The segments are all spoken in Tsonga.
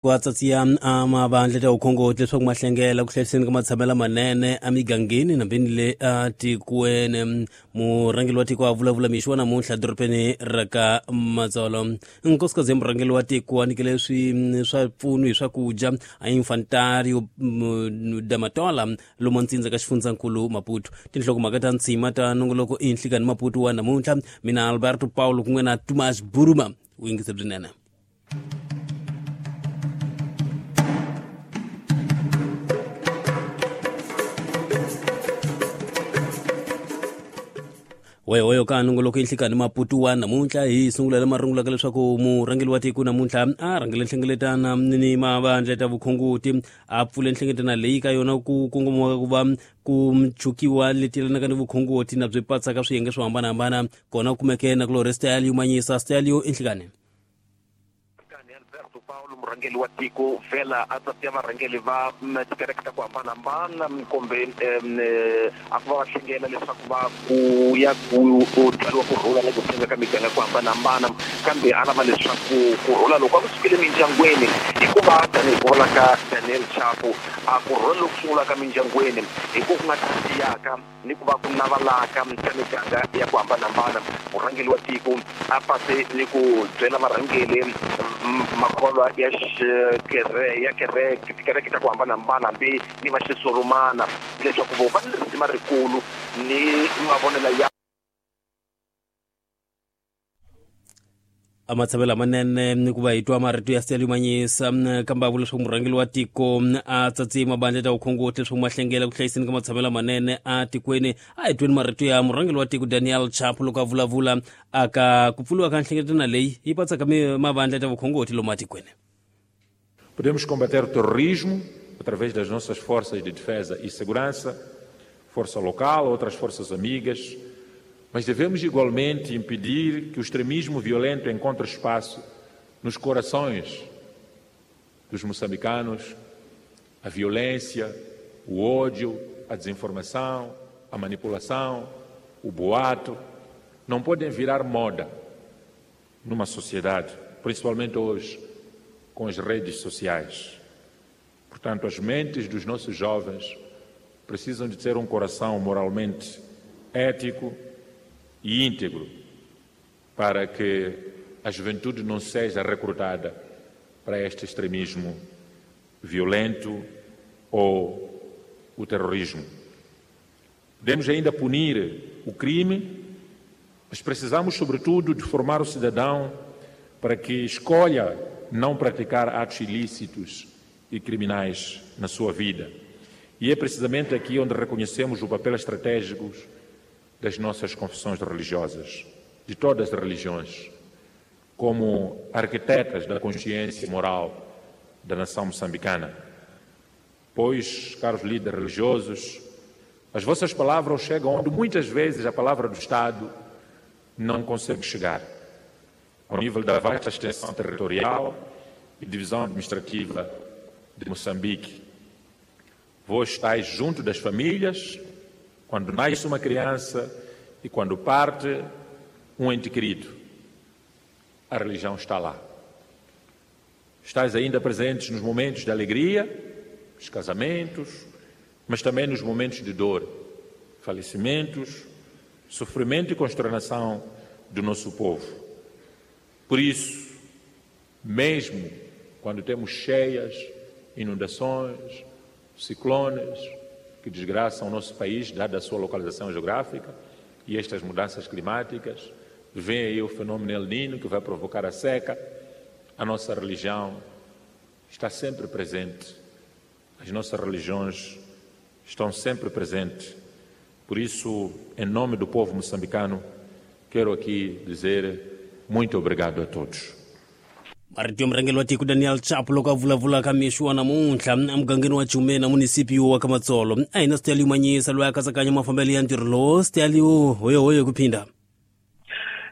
Ku atsatsiya a mavandla ta vukhongoti leswaku ma hlengela ku hlayiseni ka matshamelo manene emigangeni nambeni le atikweni. Murhangeri wa tiko a vulavula mixo wa namuntlha edorobeni ra ka Matsolo. Nkosikazi ya murhangeri wa tiko a nyikele swi swa mpfuno hi swakudya a infantario damatola lomu ntsindza ka xifundzankulu Maputo. Tinhlokomhaka ta ntshima ta nongoloko i nhlikani Maputo wa namuntlha. Mina Alberto Paulo kun'we na Tumas Buruma u yingise byinene. Wehoyo ka nongoloko inhlikani Maputo wa namuntlha hi sungula le marungulaka leswaku murhangeri wa tiko namuntlha a rhangele nhlengeletana ni mavandla ta vukhongoti a pfule nhlengeletana leyi ka yona ku kongomiwaka ku va ku chukiwa leti yelanaka ni vukhongoti na byi patsaka swiyenge swo hambanahambana kona kumeke na kulorhi Stalio Manyisa. Stalio, inhlikani. Alberto Paulo murhangeri wa tiko vhela a tsatiya varhangeri va tikereke ta ku hambanahambana kumbe a ku va va hlengela leswaku va ku ya ku byariwa ku rhula na ku tshemba ka miganga ku hambanahambana kambe a lava leswaku ku rhula loko a ku sukile mindyangwini hikuva tanihi ku vula ka Daniel Chapo a ku rhula loku sungulaka mindyangwini hi ku ku nga tiyaka ni ku va ku navalaka ka miganga ya ku hambanahambana. Murhangeri wa tiko a pase ni ku byela varhangeri makholwa ya ya kereke tikereke ta ku hambanahambana hambi ni va xisurumana leswaku vo va ni risima rikulu ni mavonelo ya A matshamelo lamanene ni ku va hi twa marito ya Stelio Manyisa kambe a vula leswaku murhangeri wa tiko a tsatsi mabandla ta vukhongoti leswaku ma hlengela ku hlayiseni ka matshamelo lamanene a tikweni. A hi tweni marito ya murhangeri wa tiko Daniel Chapo loko a vulavula aka ku pfuriwa ka nhlengeletano leyi yi patsaka mavandla ta vukhongoti lomu atikweni. Podemos combater o terrorismo através das nossas forças de defesa e segurança, força local, outras forças amigas, mas devemos igualmente impedir que o extremismo violento encontre espaço nos corações dos moçambicanos. A violência, o ódio, a desinformação, a manipulação, o boato, não podem virar moda numa sociedade, principalmente hoje, com as redes sociais. Portanto, as mentes dos nossos jovens precisam de ter um coração moralmente ético e íntegro para que a juventude não seja recrutada para este extremismo violento ou o terrorismo. Podemos ainda punir o crime, mas precisamos, sobretudo, de formar o cidadão para que escolha não praticar atos ilícitos e criminais na sua vida. E é precisamente aqui onde reconhecemos o papel estratégico das nossas confissões religiosas, de todas as religiões, como arquitetas da consciência moral da nação moçambicana. Pois, caros líderes religiosos, as vossas palavras chegam onde muitas vezes a palavra do Estado não consegue chegar, ao nível da vasta extensão territorial e divisão administrativa de Moçambique. Vós estáis junto das famílias quando nasce uma criança e quando parte um ente querido. A religião está lá. Estáis ainda presentes nos momentos de alegria, nos casamentos, mas também nos momentos de dor, falecimentos, sofrimento e consternação do nosso povo. Por isso, mesmo quando temos cheias, inundações, ciclones que desgraçam o nosso país, dada a sua localização geográfica e estas mudanças climáticas, vem aí o fenômeno El Niño que vai provocar a seca, a nossa religião está sempre presente, as nossas religiões estão sempre presentes. Por isso, em nome do povo moçambicano, quero aqui dizer muito obrigado a todos. Marito ya murhangeri wa tiko Daniel Chapo loko a vulavula ka mixo wa namuntlha emugangeni wa Jumena munisipio wa Kamatsolo. A hi na Stalio Manyisa loyi a katsakanya mafambelo ya ntirho lowo. Stalio, hoyohoyo ku phinda.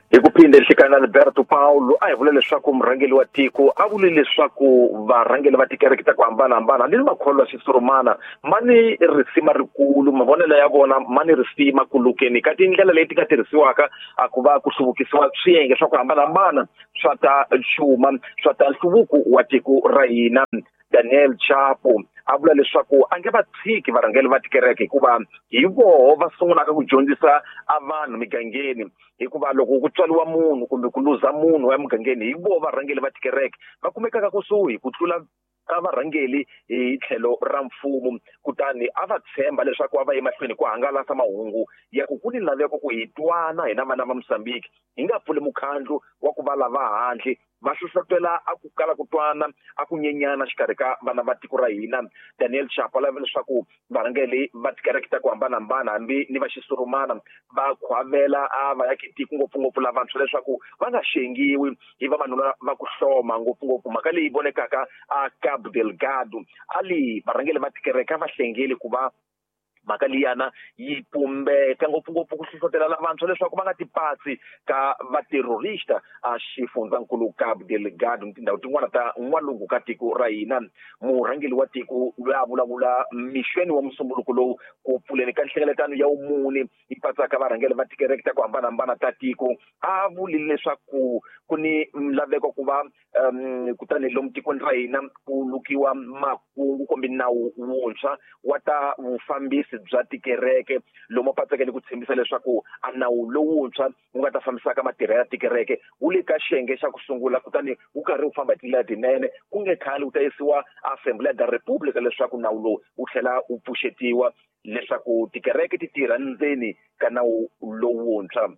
Hi ku phinde nhlikani Alberto Paulo a hi vula leswaku murhangeri wa tiko a vule leswaku varhangeri va tikereke ta ku hambanahambana ni makholwa xisurumana ma ni risima rikulu, mavonelo ya vona ma ni risima ku lukeni ka tindlela leti nga tirhisiwaka a ku va ku hluvukisiwa swiyenge swa ku hambanahambana swa ta xuma swa ta nhluvuko wa tiko ra hina. Daniel Chapo a vula leswaku a nge va tshiki varhangeri va tikereke hikuva hi voho va sungulaka ku dyondzisa a vanhu migangeni, hikuva loko ku tswariwa munhu kumbe ku luza munhu emugangeni hi voho varhangeri va tikereke va kumekaka kusuhi ku tlula ka varhangeri hi tlhelo ra mfumo. Kutani a va tshemba leswaku a va emahlweni ku hangalasa mahungu ya ku ku ni laveko ku hi twana hina vana va Mozambique, hi nga pfuli mukhandlu wa ku va lava handle va hlohlotela a ku kala ku twana a ku nyenyana xikarhi ka vana va tiko ra hina. Daniel Chapo a lava leswaku varhangeri va tikereke ta ku hambanahambana hambi ni va xisurumana va khwavela a va ya tiko ngopfungopfu lavantshwa leswaku va nga xengiwi hi vavanuna va ku hloma, ngopfungopfu mhaka leyi vonekaka a Cabo Delgado. A li varhangeri va tikereke a va hlengeli ku va mhaka liyana yi pumbeka, ngopfungopfu ku hlohlotela lavantshwa leswaku va nga tipatsi ka vaterrorista a xifundzankulu Cabo Delgado ni tindhawu tin'wana ta n'walungu ka tiko ra hina. Murhangeri wa tiko loyi a vulavula mixweni wa musumbuluko lowu ku pfuleni ka nhlengeletano ya vumune yi patsaka varhangeri va tikereke ta ku hambanahambana ta tiko a vulile leswaku ku ni laveko ku va kutani lomu tikweni ra hina ku lukiwa makungu kumbe nawu wuntshwa wa ta vufambisi bya tikereke, lomu patseke ni ku tshembisa leswaku a nawu lowuntshwa wu nga ta fambisaka matirhelo ya tikereke wu le ka xiyenge xa ku sungula, kutani wu karhi wu famba hi tindlela tinene, ku nge khale wu ta yisiwa Assembleia da República leswaku nawu lowu wu tlhela wu pfuxetiwa leswaku tikereke ti tirha ndzeni ka nawu lowuntshwa.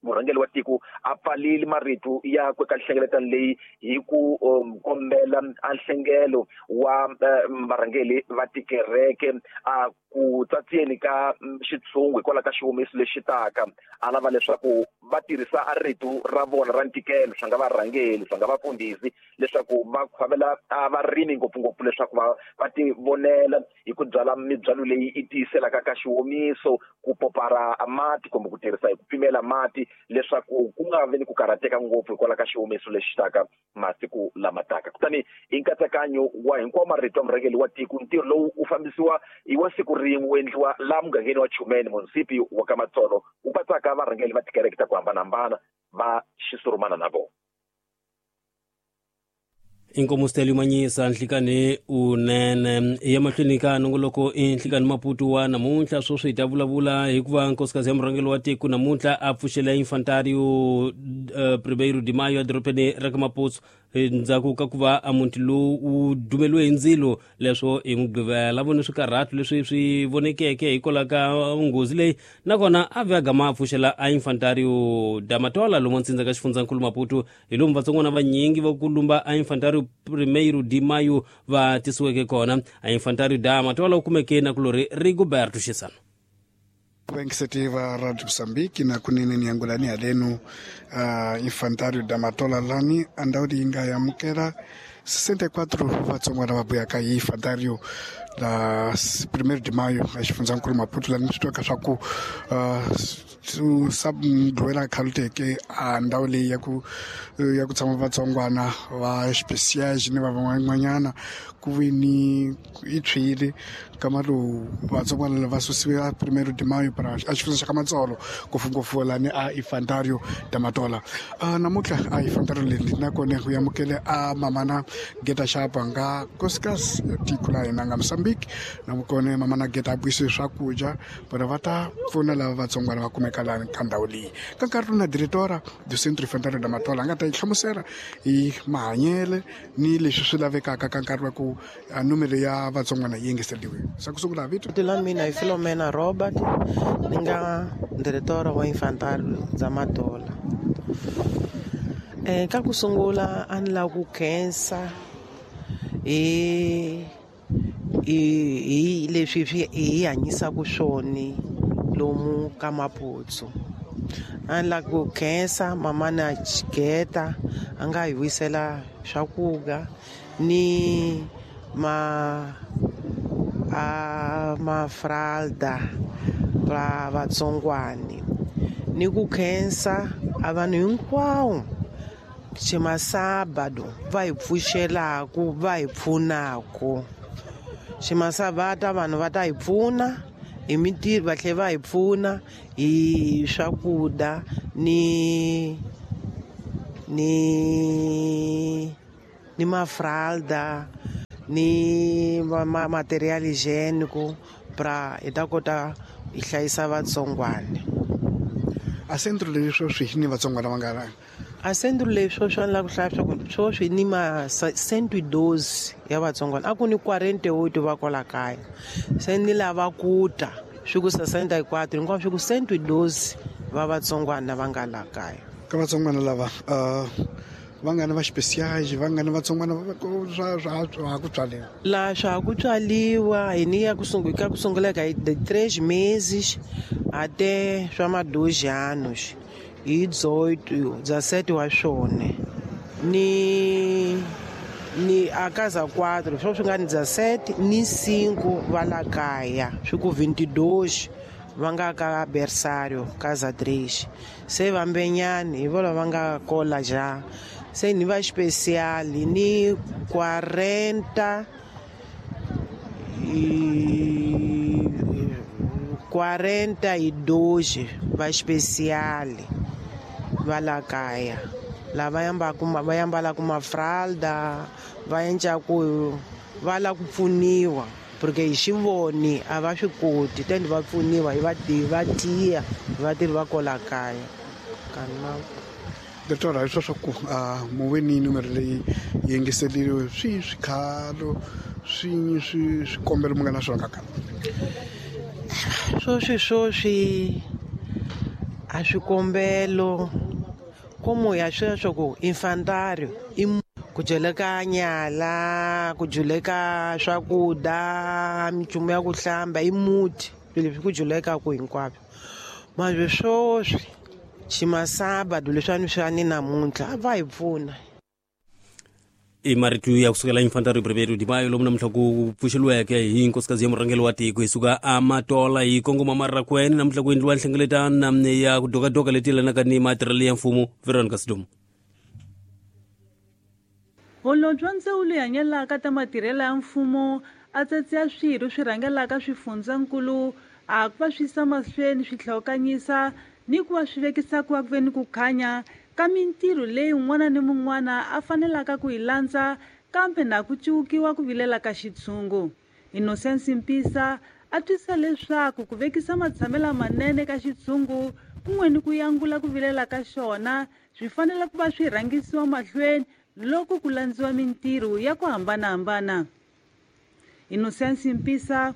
Murhangeri wa tiko a pfalile marito yakwe ka nhlengeletano leyi hi ku kombela a nhlengelo wa varhangeri va tikereke a ku tsatsiyeni ka xitshungu hikwalaho ka xiwomiso lexi taka. A lava leswaku va tirhisa a rito ra vona ra ntikelo, swa nga varhangeri swa nga vafundhisi, leswaku va khwavela a varimi ngopfungopfu leswaku va ti vonela hi ku byala mibyalo leyi yi tiyiselaka ka xiwomiso, ku popara mati kumbe ku tirhisa hi ku pimela mati leswaku ku nga vi ni ku karhateka ngopfu hikwalaho ka xiwomiso lexi taka masiku lama taka. Kutani hi nkatsakanyo wa hinkwawo marito ya murhangeri wa tiko, ntirho lowu wu fambisiwa hi wa siku rin'we wu endliwa laha mugangeni wa Chumeni, munisipi wa ka Matsolo, wu patsaka varhangeri va tikereke ta ku hambanahambana va xisurumana na vona. Inkomo Stelio Manyisa nhlikani unene ya mahlweni ka nongoloko i nhlikani Maputo wa namuntlha. Sweswi hi ta vulavula hikuva nkosikazi ya murhangeri wa tiko namuntlha a pfuxela Infantário 1 de Maio edorobeni ra ka Maputo ndzhaku ka ku va a muti lowu wu dumeliwe hi ndzilo leswo hi Mugqivela. Vone swikarhato leswi swi vonekeke hikwalaho ka nghozi leyi, nakona a ve a gama a pfuxela a Infantário da Matola lomu ntsindza ka xifundzankulu Maputo, hi lomu vatsongwana vanyingi va ku lumba a Infantário 1 de Maio va tisiweke kona. A Infantário da Matola wu kumeke na kulori Rigoberto Xisano. Venkisetiva Radio Mozambique na kunene ni angulani alenu Infantário da Matola lani andaudi inga yamukela 64 vatsongwana va buyaka hi Infantário da 1 de Maio a xifundzankulu Maputo lani swi twaka swa ku sabdwela khaluteke a ndhawu leyi ya ku tshama vatsongwana va speciage ni va van'wanyana ku vi ni yi tshwile kama lowu vatsongwana va susiwe a 1 de Maio para a xifundza xa ka Matsolo ngopfungopfu lani a Infantário da Matola. Namuntlha a Infantário leyi nakona ku amukele a mamana Geta Xapa nga nkosikazi ya tiko la hina nga Mozambique, nakona mamana Geta a buyise swakudya vona va ta pfuna lava vatsongwana va kumeka lani ka ndhawu leyi. Ka nkarhi lowu na diretora do Centro Infantário da Matola a nga ta yi hlamusela hi mahanyele ni leswi swi lavekaka ka nkarhi wa ku numero ya vatsongwana yi engeteriwe. Sa ku sungula vito la mina hi Filomena Robert, ni nga diretora wa Infantário da Matola. Ka ku sungula a ni lava ku khensa hi leswi swi hi hanyisaka swona lomu ka Maputo. A ni lava ku khensa mamana Geta a nga hi wisela swakudya ni mafralda va vatsongwani. Ni ku khensa a vanhu hinkwawo ximasabado va hi pfuxelaku, va hi pfunaku. Ximasabata vanhu va ta hi pfuna hi mintirho, va tlhela va hi pfuna hi swakudya ni ni ni mafralda ni material higiênico pra hi ta kota hi hlayisa vatsongwana. A centro leyi sweswi ni vatsongwana va nga a centro leyi sweswi a ni lava ku hlaya swa ku sweswi ni ma 112 ya vatsongwana, a ku ni 48 va kwala kaya, se ni lava ku ta swi ku 64 hinkwaswo swi ku 112 va vatsongwana va nga la kaya. Ka vatsongwana lava va nga ni va special, va nga ni vatsongwana swa swa ku tswaliwa la swa ku tswaliwa hi ni ya ku sungula ka ku sungula ka de 3 meses até swa ma 2 anos hi 18 17 wa swona ni ni a casa 4 swo swi nga ni 17 ni 5 va la kaya swi ku 22 va nga ka berçário casa 3 se vambenyani hi vona va nga kola ja se ni va especial ni 40 42 va especial va la kaya lava va yambalaka mafralda va endlaku va la ku pfuniwa porque hi xivoni a va swi koti tende va pfuniwa hi va tiya vatirhi va kola kaya kana. Doctor, hi swa ku muweni numero leyi yingiseriwe swi swikhalo swi swi swikombelo mi nga na swona kaka swoswi a swikombelo como ya sweswo ku infantário i ku dyeleka nyala, ku dyeleka swakudya, minchumu ya ku hlamba i muti swilo leswi ku dyelekaku hinkwaswo. Manje swoswi ximasabado leswiwani swa ni namuntlha a va hi pfuna. I marito ya kusukela Infantário Primeiro de Maio lomu namuntlha ku pfuxeliweke hi nkosikazi ya murhangeri wa tiko hi suka amatola hi kongoma Marrakwene namuntlha ku endliwa nhlengeletano ya ku dokadoka leti yelanaka ni matirhelo ya mfumo. Veronica Sidumo. Holobye wa ndzawulo yi hanyelaka ta matirhelo ya mfumo a tsatsiya swirho swi rhangelaka swifundzankulu a ku va swi yisa mahlweni swi hlawukanyisa ni ku va swi vekisa ku va ku ve ni ku khanya ka mintirho leyi un'wana ni mun'wana a fanelaka ku yi landza kambe na ku civukiwa ku vilela ka xitshungu. Innocence Mpisa a twisisa leswaku ku vekisa matshamelo manene ka xitshungu kun'we ni ku yangula ku vilela ka xona swi fanele ku va swi rhangisiwa mahlweni loko ku landziwa mintirho ya ku hambanahambana. Innocence Mpisa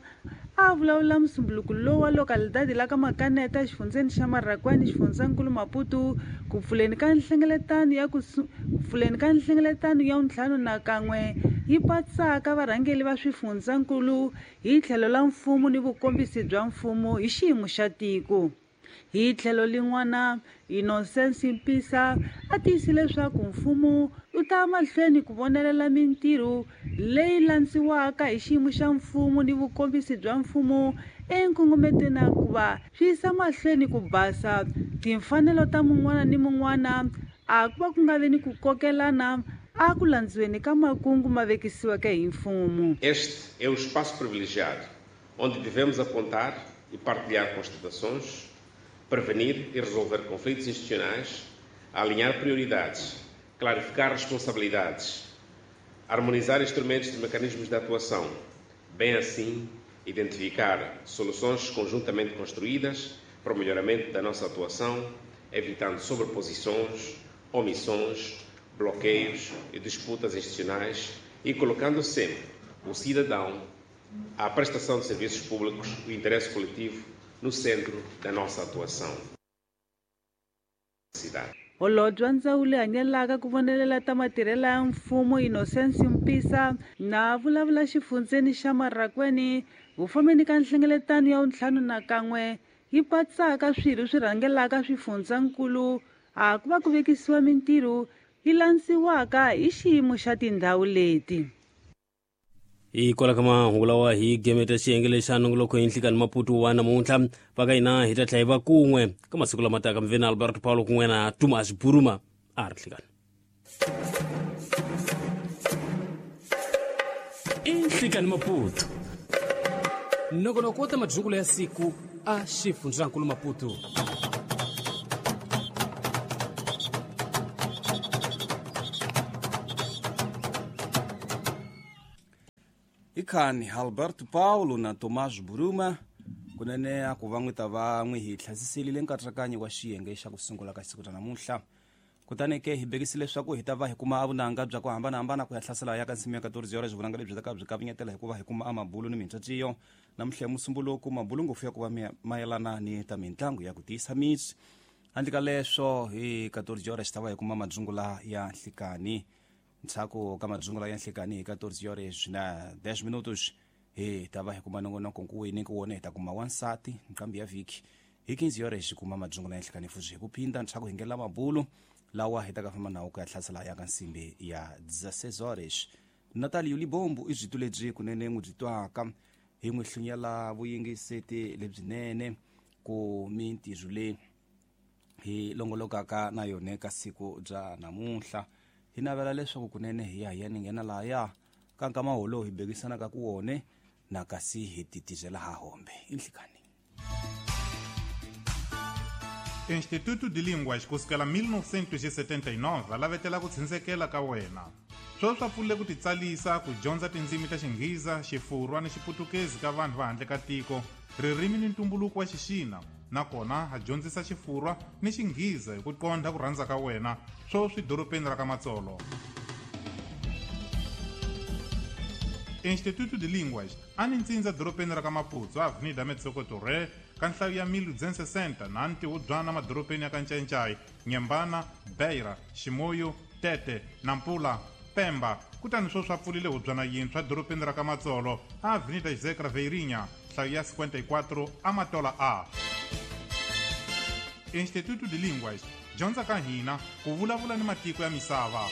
a vulavula musumbuluko lowu wa localidade la ka Makaneta exifundzeni xa Marrakwene xifundzankulu Maputo ku pfuleni ka nhlengeletano ya ku pfuleni ka nhlengeletano ya 51 yi patsaka varhangeri va swifundzankulu hi tlhelo la mfumo ni vukombisi bya mfumo hi xiyimo xa tiko. Hi tlhelo lin'wana Innocence Mpisa a tiyisile leswaku mfumo wu ta mahlweni ku vonelela mintirho leyi landziwaka hi xiyimo xa mfumo ni vukombisi bya mfumo enkongometweni ku va swi yisa mahlweni ku basa timfanelo ta mun'wana ni mun'wana a ku va ku nga vi ni ku kokelana a ku landziweni ka makungu ma vekisiweke hi mfumo. Este é o espaço privilegiado onde devemos apontar e partilhar constatações, prevenir e resolver conflitos institucionais, alinhar prioridades, clarificar responsabilidades, harmonizar instrumentos e mecanismos de atuação, bem assim identificar soluções conjuntamente construídas para o melhoramento da nossa atuação, evitando sobreposições, omissões, bloqueios e disputas institucionais e colocando sempre o cidadão, a prestação de serviços públicos e o interesse coletivo no centro da nossa atuação. Holobye wa ndzawulo yi hanyelaka ku vonelela ta matirhelo ya mfumo Innocence Mpisa na vulavula xifundzeni xa Marrakwene vufambeni ka nhlengeletano ya 51 yi patsaka swirho swi rhangelaka swifundzankulu a ku va ku vekisiwa mintirho yi landziwaka hi xiyimo xa tindhawu leti. Hikwalaho ka mahungu lawa hi gemeta xiyenge lexa nongoloko hi nhlikani Maputo wa namuntlha. Va ka hina hi ta tlhela hi va kun'we ka masiku lama taka. Mi ve na Alberto Paulo kun'we na Tumas Buruma. A ri nhlikani. I Nhlikani Maputo, nongonoko wo ta madyungulo ya siku a xifundzankulu Maputo. Ikhani Alberto Paulo na Tomás Buruma kunene a ku va n'wi ta va n'wi hi tlhasiselile nkatsakanyo wa xiyenge xa ku sungula ka siku ra namuntlha. Kutani ke hi bekisile leswaku hi ta va hi kuma vunanga bya ku hambanahambana ku ya hlasela ya ka nsimu ya 14 horas. Vunanga lebyi ta ka byi kavinyetela hikuva hi kuma amabulu ni mintswatsiyo namuntlha ya musumbuluku, mabulu ngopfu ya ku va mayelana ni ta mitlangu ya ku tiyisa misi. Handle ka leswo, hi 14 horas hi ta va hi kuma madzungula ya nhlikani. Ndzhaku ka madzungula ya nhlikani hi 14 horas na 10 minutos hi ta va hi kuma nongonoko nkuwini ku wona hi ta kuma wansati nqambi ya vhiki. Hi 15 horas hi kuma madzungula ya nhlikani futhi hi ku phinda ndzhaku hi ngela mabulu lawa hi ta ka famba nawo ku ya hlasela ya ka nsimbi ya 16 horas. Natalio Libombo i byitu lebyi kunene n'wi byi twaka, hi n'wi hlunyela vuyingiseti lebyinene ku mintirho leyi hi longolokaka na yona ka siku bya namuntlha. Hi navela leswaku kunene hi ya hi ya ni nghena lahaya ka nkama wolowo hi bekisanaka ku wone na kasi hi titizela ha hombe. Inhlikani. Instituto de Línguas kusukela 1979 va lavetela ku tshindzelekela ka wena. Sweswi va pfulile ku titsalisa ku dyondza tindzimi ta Xinghiza, Xifurwa ni Xiputukezi ka vanhu va handle ka tiko, ririmi ni ntumbuluko wa Xixina, nakona ha dyondzisa Xifurwa ni Xinghiza hi ku qondha ku rhandza ka wena, sweswi dorobeni ra ka Matsolo. Instituto de Línguas a ni ntsindza dorobeni ra ka Maputo, Avenida Metsoco Torre, ka nhlayo ya 1260 na ntihubyana madorobeni ya ka Ncancai, Nyembana, Beira, Ximoyo, Tete, Nampula, Pemba. Kutani sweswi a pfulile hubyana yintshwa dorobeni ra ka Matsolo, a Avenida José Craveirinha, nhlayo ya 54 Amatola A. Instituto de Línguas, dyondza ka hina ku vulavula ni matiko ya misava.